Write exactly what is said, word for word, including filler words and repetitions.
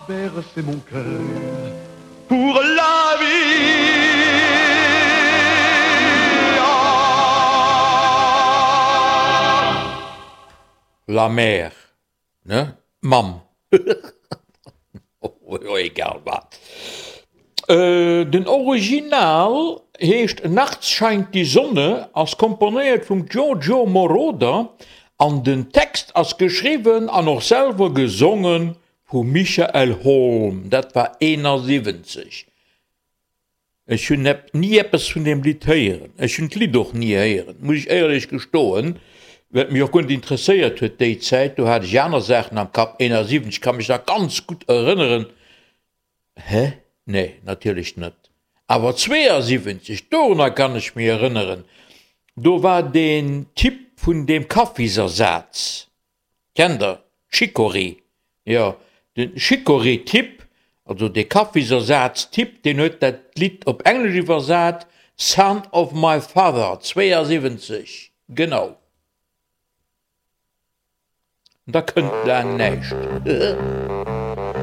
Bercer mon cœur pour la vie. La mère, ne? D'Mamm. Jo, egal wat. Den Original heescht Nachts scheint die Sonne, ass komponéiert vum Giorgio Moroder an den Text ass geschriwwen an och selwer gesonge vum Michael Holm. Dat war eenasiwwenzeg. Ech hunn ni eppes vun deem Lidd héieren. Ech hunn d'Lidd och ni héieren, muss ech éierlech gestoen, well et mech och guer net interesséiert huet déi Zäit. Do hat ech aner Saachen am Kapp. eenasiwwenzeg, ka mech nach ganz gutt erënneren. Hä? Nee, natierlech net. Awer zweeënsiwwenzeg, dorunner kann ech mech erënneren, do war deen Typ vun deem Kaffisersaz, kennt der, Chicorée, jo, den Chicorée-Typ, also dee Kaffisersaz-Typ, deen huet dat Lidd op Englesch iwwersat, Son of my father, zweeënsiwwenzeg, genau. Da kënnt laang näischt.